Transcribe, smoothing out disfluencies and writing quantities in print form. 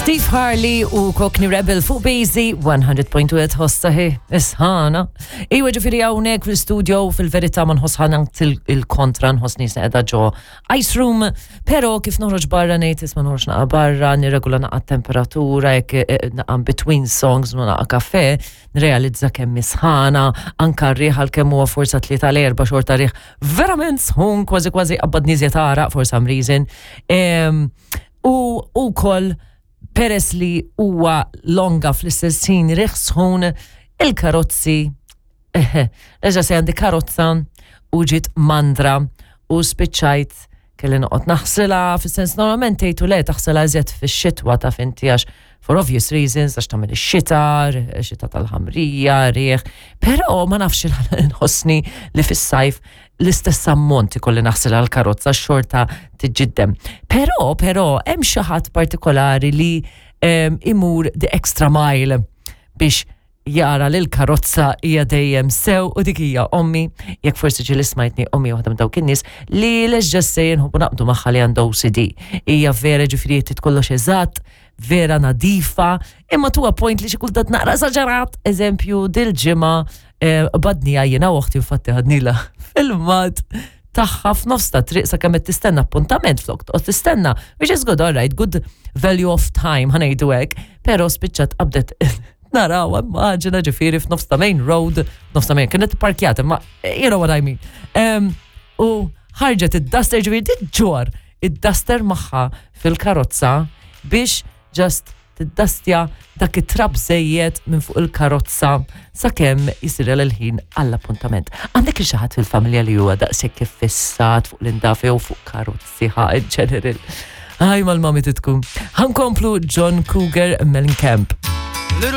Steve Harley u Cockney Rebel fuq Basie 100.1 ħossaħi isħana. Iwa ġifiri hawnhekk fil-studio fil-verità ma nħossħana il-kontra nħossni qiegħda ġo ice room, però kif noħroġ barra ngħid isma' noħroġ naqa' barra, nirregola naqa' temperatura jekk eh, naqa' between songs u naqa' kafe, nrealizza kemm isħana, anka r-riħ għalkemm huwa forsa tlieta l-erba' xorta riħ verament sħun kważi kważi qabbad niżja tagħraq for some reason. U wkoll peress li huwa longa fl-istess ħin riħ sħun il-karozzi Reġa se għandi karozza u ġiet mandra u spiċċajt kelli noqgħod naħsilha, fis-sens normalment tgħidu le taħsilha iżjed fix-xitwa taf inti għax for obvious reasons għax tagħmel ix-xita, xita tal-ħamrija, riħ, però ma nafx nħossni li fis-sajf l-istess ammont ikolli naħsilha l-karozza xorta tiġġiddem. Però, però hemm xi ħadd partikolari li ehm, imur the extra mile biex jara li l-karozza hija dejjem sew u dik hija ommi, jekk forsi ġieli smajtni ommi waħda minn dawk in-nies li let's just say nħobbu naqbdu magħha li għandha OCD. Hija vera ġifieri trid kollox eżatt, vera nadifa, imma to a point li xi kultant naqra esaġerat. Eżempju, dil-ġimgħa eh, badnija jiena u oħti infatti ħadnila filmat tagħha f'nofs ta' triq sakemm qed tistenna appuntament flok toqgħod tistenna, which is good, all right, good value of time ħa ngħidu hekk, però spiċċat qabdet naraw immaġina ġifieri f'nofs ta' main road, nofs ta' main, kienet parkjat, imma you know what I mean. Um, u ħarġet id-duster ġifieri tiġġor id-duster magħha fil-karozza biex just tiddastja dak it-trab żejjed minn fuq il-karozza sakemm jisir l-ħin għall-appuntament. Għandek xi ħadd fil-familja li huwa daqshekk iffissat fuq l-indafi u fuq karozzi ħa in general. Għaj mal-mami titkun. Ħankomplu John Cougar Mellencamp.